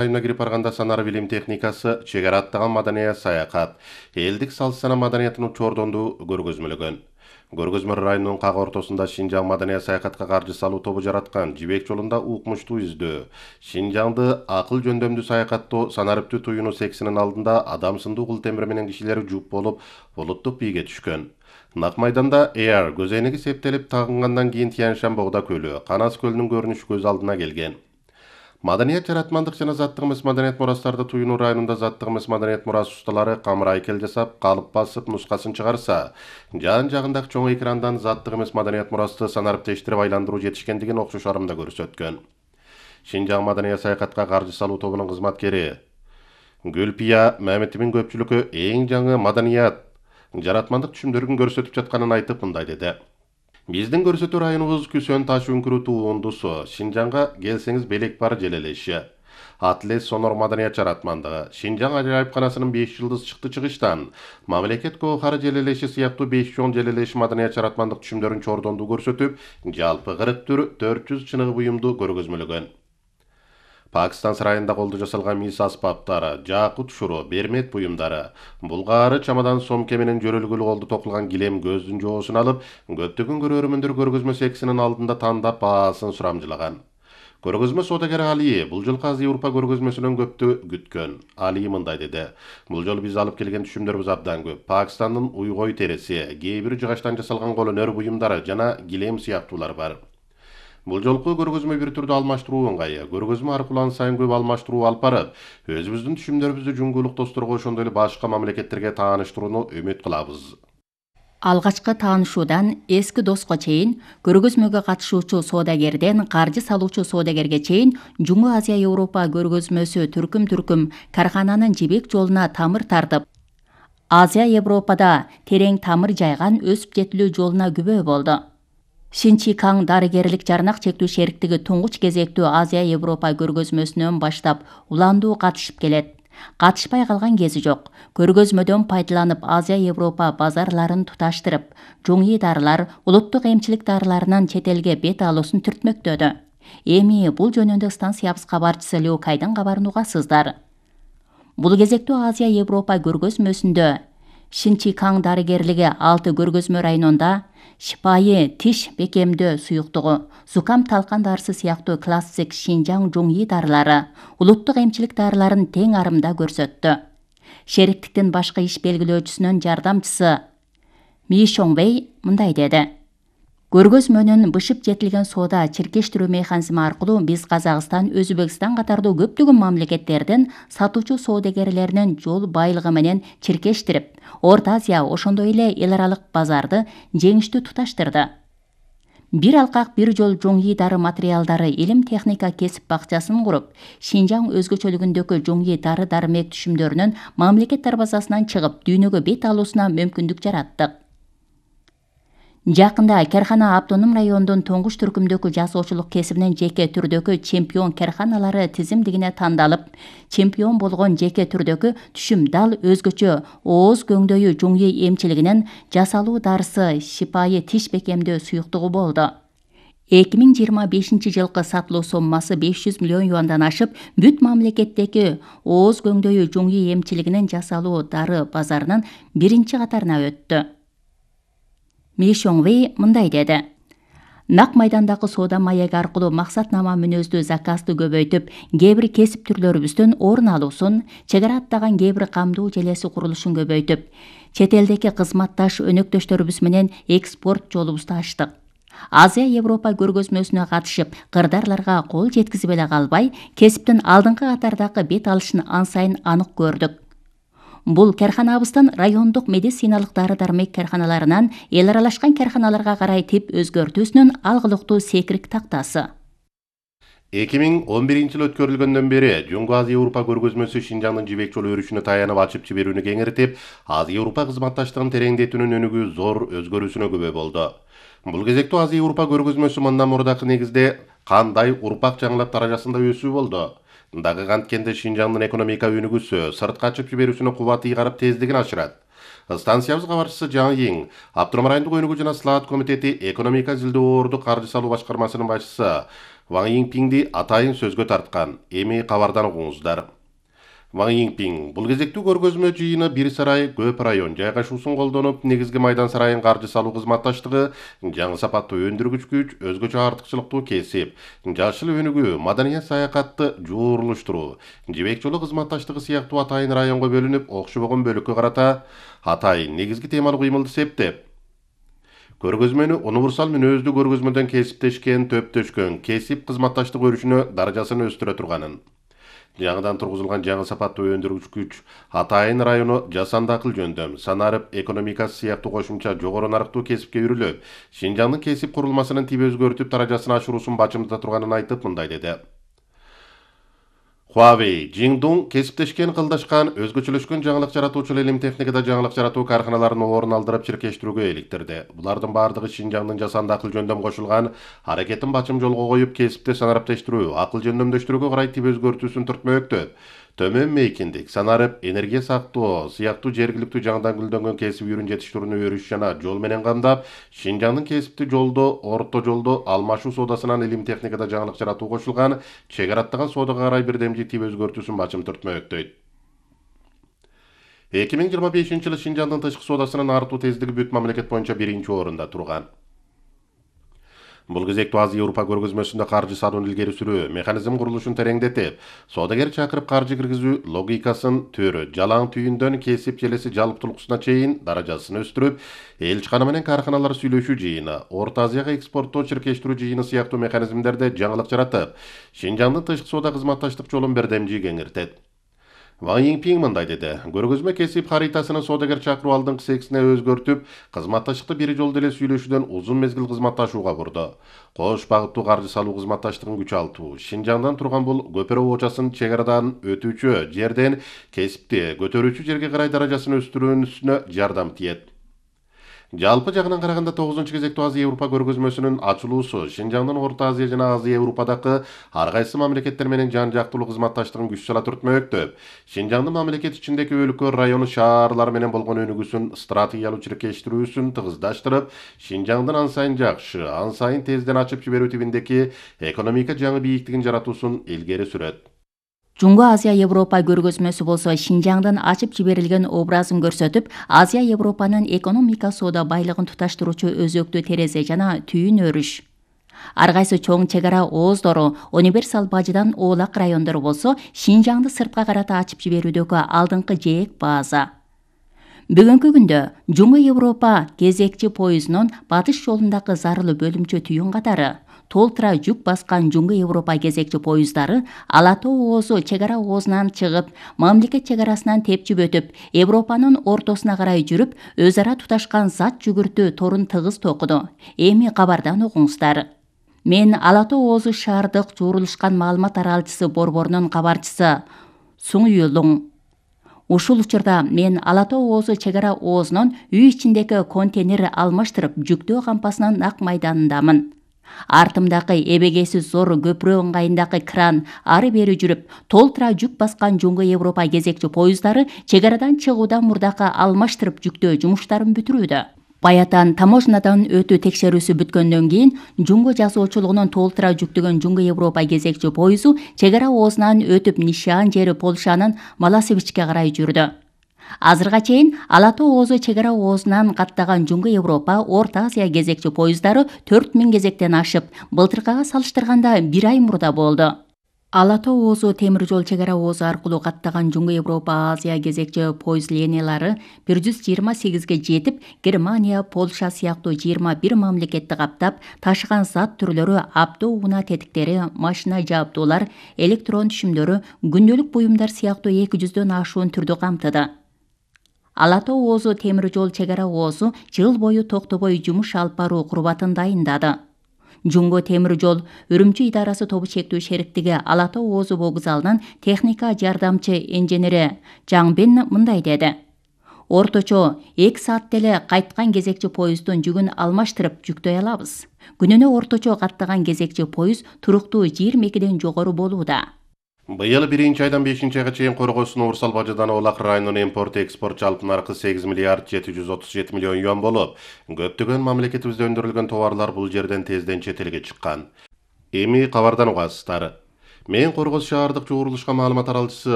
Айына кирип барганда санар билим техникасы, чек ара аттаган маданият саякат, элдик салт сана маданиятын чордонду көргөзмөлөгөн. Көргөзмө районунун как ортосунда Шинжаң маданият саякатка каржы салуу тобу жараткан жибек жолунда укмуштуу издөө, Шинжаңды акыл жөндөмдүү саякаттоо санариптүү туюну сексинин алдында адам сындуу кул темир менен кишилер жуп болуп булуттук бийге түшкөн. Нак майданда Эйар көзөйнеги септелип тагынгандан кийин Тянь-Шань Богда көлү, Канас көлүнүн көрүнүшү көз алдына келген. Маданият жаратмандык жана заттык эмес маданият мурастарды туюну районунда заттык эмес маданият мурас усталары камыр айкел жасап, калып басып, нускасын чыгарса, жан-жагындагы чоң экрандан заттык эмес маданият мурасты санариптештирип айландыруу жетишкендигин окшош арымда көрсөткөн. Шинжаң маданият саякатка каржы салуу тобунун кызматкери Гүлпия Мамедовдун көпчүлүккө эң жаңы маданият жаратмандык түшүмдөрүн көрсөтүп жатканын айтып мындай деди. Биздин көрсөтүү районубуз Күсөн таш үңкүрү туундусу. Шинжаңга келсеңиз белек бар желелеши. Атлес сонор маданият жаратмандыгы. Шинжаң ажайыпканасынын 5 жылдыз чыкты чыгыштан мамлекет коохары желелеши сыяктуу 5 чоң желелеши маданият жаратмандык түшүмдөрүн чордондуу көрсөтүп, жалпы 44 чыныгы буюмду көргөзмөлөгөн. Пакистан сарайында колду жасалган мис аспаптары, жакут шуру, бермет буюмдары, булгаары чамадан сомке менен жөрөлгүлүү колду токулган килем көздүн жоосун алып, көптөгөн көрөрмөндөр көргөзмө сексинин алдында тандап баасын сурамжылаган. Көргөзмө соодагер Али бул жолку Азия Европа көргөзмөсүнөн көптү күткөн. Али мындай деди: "Бул жолу биз алып келген түшүмдөрүбүз абдан көп. Пакистандын уйгой тереси, кээ бир жыгачтан жасалган кол өнөр буюмдары жана килем сыяктуулар бар. Бул жолку көргөзмө бир түрдүү алмаштыруу ыңгайы. Көргөзмө аркылуу ан сайын көп алмаштыруу алып барып, өзүбүздүн түшүмдөрүбүздү жуңгулук досторго ошондой эле башка мамлекеттерге тааныштырууну үмүт кылабыз." Алгачкы таанышуудан эски доско чейин, көргөзмөгө катышуучу соодагерден каржы салуучу соодагерге чейин Жуңу Азия Европа көргөзмөсү түркүм кархананын жибек жолуна тамыр тартып, Азия Европада терең тамыр жайган өсүп жетилүү жолуна күбө болду. Шинчикаң дарыгерлик жарнак чектүү шериктиги туңгуч кезектүү Азия Европа көргөзмөсүнөн баштап уландуу катышып келет. Катышпай калган кези жок. Көргөзмөдөн пайдаланып Азия Европа базарларын туташтырып, жуңий дарылар, улуттук эмчилик дарыларынын чет элге бет алуусун түртмөктөдү. Эми бул жөнүндө станциябыз кабарчысы Леокайдын кабарын угасыздар. Бул кезектүү Азия Европа көргөзмөсүндө Шинчикаң дарыгерлиги 6 көргөзмө районунда шипайы тиш бекемдөө суюктугу, зукам талкан дарысы сыяктуу классик Шинжаң жуңий дарылары, улуттук эмчилик дарыларын тең арымда көрсөттү. Шериктиктин башкы иш белгилөөчүсүнүн жардамчысы Ми Шоңвей мындай деди: "Көргөзмөнүн бышып жетилген соода чиркештирүү механизми аркылуу биз Казакстан, Өзбекстан катардуу көптөгөн мамлекеттердин сатуучу соодагерлеринин жол байлыгы менен чиркештирип, Орто Азия, ошондой эле эл аралык базарды жеңиштүү туташтырды. Бир алкак бир жол жуңий дары материалдары илим техника кесип бакчасын куруп, Шинжаң өзгөчөлүгүндөгү жуңий дары дармек түшүмдөрүнүн мамлекет дарбазасынан чыгып, дүйнөгө бет алуусуна мүмкүндүк жараттык. Жакында кархана автоном райондун туңгуч түркүмдөгү жасоочулук кесибинин жеке түрдөгү чемпион карханалары тизимдигине тандалып, чемпион болгон жеке түрдөгү түшүм дал өзгөчө ооз көңдөйү жуңий эмчилигинин жасалуу дарысы шипайы тиш бекемдөө суюктугу болду. 2025 жылкы сатылуу соммасы 500 миллион юандан ашып, бүт мамлекеттеги ооз көңдөйү жуңий эмчилигинин жасалуу дары базарынын биринчи катарына өттү. Ми Шоңвей мындай деди: "Нак майдандагы соода маеги аркылуу максатнама мүнөздүү заказды көбөйтүп, кээ бир кесип түрлөрүбүздүн орун алуусун, чек ара аттаган кээ бир камдуу желеси курулушун көбөйтүп, чет элдеги кызматташ өнөктөштөрүбүз менен экспорт жолубузду ачтык. Азия Европа көргөзмөсүнө катышып, кырдаарларга кол жеткизип эле калбай, кесиптин алдыңкы катардагы бет алышын ан сайын анык көрдүк. Бул карханабыздын райондук медициналык дары-дармек карханаларынан эл аралашкан карханаларга карай тип өзгөртүүсүнүн алгылыктуу секирик тактасы." 2011 жыл өткөрүлгөндөн бери Жуңгу Азия Европа көргөзмөсү Шинжаңдын жибек жолу өрүшүнө таянып ачып жиберүүнү кеңиртип, Азия Европа кызматташтыгын тереңдетүүнүн өнүгүү зор өзгөрүүсүнө күбө болду. Бул кезектүү Азия Европа көргөзмөсү мындан мурдакы негизде кандай урпак жаңылап даражасында өсүү болду. Дагы канткенде Шинжаңдын экономика өнүгүүсү, сыртка ачып жиберүүсүнө кубат ыйгарып тездигин ашырат. Станциябыз кабарчысы Жаң Йиң, Автономдук өнүгүү жана Слаат комитети экономика изилдөө орду каржы салуу башкармасынын башчысы Ван Йинпиңди атайын сөзгө тарткан. Эми кабардан угуңуздар. Ван Йинпиң бул кезектүү көргөзмө жыйыны бир сарай көп район жайгашуусун колдонуп, негизги майдан сарайын каржы салуу кызматташтыгы, жаңы сапаттуу өндүргүч күч, өзгөчө артыкчылыктуу кесип, жашыл өнүгүү, маданият саякатты жуурулуштуруу, жибек жолу кызматташтыгы сыяктуу атайын районго бөлүнүп, окшобогон бөлүккө карата атайын негизги темалуу кыймылды септеп, көргөзмөнү универсал мүнөздүү көргөзмөдөн кесиптешкен, төптөшкөн, кесип кызматташтык өрүшүнө даражасын өстүрө турганын, жаңыдан тургузулган жаңы сапаттуу өндүргүч күч атайын району жасанды акыл жөндөм, санарып экономикасы сыяктуу кошумча жогору нарыктуу кесипке үрүлүп, Шинжаңдын кесип курулмасынын тип өзгөртүп даражасын ашыруусун бачымдата турганын айтып мындай деди. Huawei, Jingdong кесиптешкен, кылдашкан, өзгөчөлөшкөн жаңылык жаратуучу илим техникада жаңылык жаратуу карканаларын орун алдырып чиркештирүүгө иликтирди. Булардын бардыгы Шинжаңдын жасанды акыл жөндөм кошулган аракетин бачым жолго коюп, кесипте санариптештирүү, акыл жөндөмдөштүрүүгө карай тип өзгөртүүсүн түртмөктөп, төмөн мейкиндик, санарып, энергия сактоо сыяктуу жергиликтүү жаңыдан гүлдөнгөн кесип үйрүн жетиштирүүнү өрүш жана жол менен камдап, Шинжаңдын кесипти жолдо, орто жолдо алмашуу соодасынан илим техникада жаңылык жаратуу кошулган чек араттаган соодага карай бирдемжи тип өзгөртүүсүн бачым түртмөктөйт. 2025-жылы Шинжаңдын тышкы соодасынын артуу тездиги бүт мамлекет боюнча биринчи орунда турган. Бул кезектүү Азия Европа көргөзмөсүндө каржы салууну илгери сүрүү, механизм курулушун тереңдетип, соодагер чакырып каржы киргизүү логикасын төрү, жалаң түйүндөн кесип желеси жалптуулуксуна чейин даражасын өстүрүп, элчикана менен карканалар сүйлөшүү жыйыны, Орто Азияга экспорттоо чиркештирүү жыйыны сыяктуу механизмдерде жаңылык жаратып, Шинжаңдын тышкы соода кызматташтык жолун бирдемжи кеңиртет. Ван Йинпиң мындай деди. Көргөзмө кесип харитасынын соодагер чакыруу алдыңкы сексине өзгөртүп, кызматташтыкты бир жолдо эле сүйлөшүүдөн узун мезгил кызматташууга бурду. Кош багыттуу каржы салуу кызматташтыгын күчалтуу, Шинжаңдан турган бул көпөрө оочасын чек арадан өтүүчү жерден кесипти көтөрүүчү жерге карай даражасын өстүрүүсүнө жардам тиет. Жалпы жагынан караганда 9-кезектүү Азия Европа көргөзмөсүнүн ачылуусу Шинжаңдын Орто Азия жана Азия Европадагы ар кайсы мамлекеттер менен жан жактуу кызматташтыгын күч сала түртмөктөп, Шинжаңдын мамлекет ичиндеги өлкө, району, шаарлар менен болгон өнүгүүсүн, стратегиялуу чиркештирүүсүн тыгыздаштырып, Шинжаңдын ан сайын жакшы, ан сайын тезден ачып жиберүү тибиндеги экономика жаңы бийиктигин жаратуусун илгери сүрөт. Жуңго Азия Европа көргөзмөсү болсо Шинжаңдын ачып жиберилген образын көрсөтүп, Азия Европанын экономика соода байлыгын туташтыруучу өзөктүү терезе жана түйүн өрүш. Ар кайсы чоң чек ара ооздору, универсал бажыдан оолак райондору болсо, Шинжаңды сыртка карата ачып жиберүүдөгү алдыңкы жээк база. Бүгүнкү күндө Жуңго Европа кезекчи поездунун батыш жолундагы зарылуу бөлүмчө түйүн катары толтура жүк баскан Жуңго Европа кезекчи поезддары Ала тоо оозу чек ара оозунан чыгып, мамлекет чек арасынан тепчип өтүп, Европанын ортосуна карай жүрүп, өз ара туташкан зат жүгүртүү торун тыгыз токуду. Эми кабардан угуңуздар. Мен Ала тоо оозу шаардык жуурулушкан маалымат аралчысы борборунун кабарчысы Суң Юлуң. Ушул учурда мен Ала тоо оозу чек ара оозунун үй ичиндеги контейнер алмаштырып жүктөө кампасынын нак майданындамын. Артымдагы эбегейсиз зор көпүрө ыңгайындагы кран ары бери жүрүп, толтура жүк баскан Жуңго Европа кезекчи поезддары чек арадан чыгуудан мурдакы алмаштырып жүктөө жумуштарын бүтүрүүдө. Баятан таможнядан өтүү текшерүүсү бүткөндөн кийин Жуңго жазуучулугунун толтура жүктөгөн Жуңго Европа кезекчи поезду чек ара оозунан өтүп нишан жери Польшанын Маласевичке карай жүрдү. Азырга чейин Ала тоо оозу чек ара оозунан каттаган Жуңго Европа, Орто Азия кезекчи поезддары 4000 кезектен ашып, былтыркыга салыштырганда 1 ай мурда болду. Ала тоо оозу темир жол чек ара оозу аркылуу каттаган Жуңго Европа Азия кезекчи поезд линиялары 128ге жетип, Германия, Польша сыяктуу 21 мамлекетти каптап, ташыган зат түрлөрү авто унаа тетиктери, машина жабдуулар, электрон түшүмдөрү, күндөлүк буюмдар сыяктуу 200дөн ашуун түрдү камтыды. Ала тоо оозу темир жол чек ара оозу жыл бою токтобой жумуш алып баруу курбатын дайындады. Жуңго темир жол Үрүмчү идарасы тобу чектүү шериктиги Ала тоо оозу вокзалынан техника жардамчы инженери Жаңбен мындай деди. Орточо 2 саатта эле кайткан кезекчи поезддун жүгүн алмаштырып жүктөй алабыз. Күнүнө орточо каттаган кезекчи поезд туруктуу 22ден жогору болууда. Быйыл 1-айдан 5-айга чейин Коргосун Уурсал бажыдан Оолак районунун импорт-экспорт жалпы наркы 8 миллиард 737 миллион юан болуп, көптөгөн мамлекетибизде өндүрүлгөн товарлар бул жерден тезден чет элге чыккан. Эми кабардан угасыздар. Мен Коргоз шаардык чогурулушка маалымат аралчысы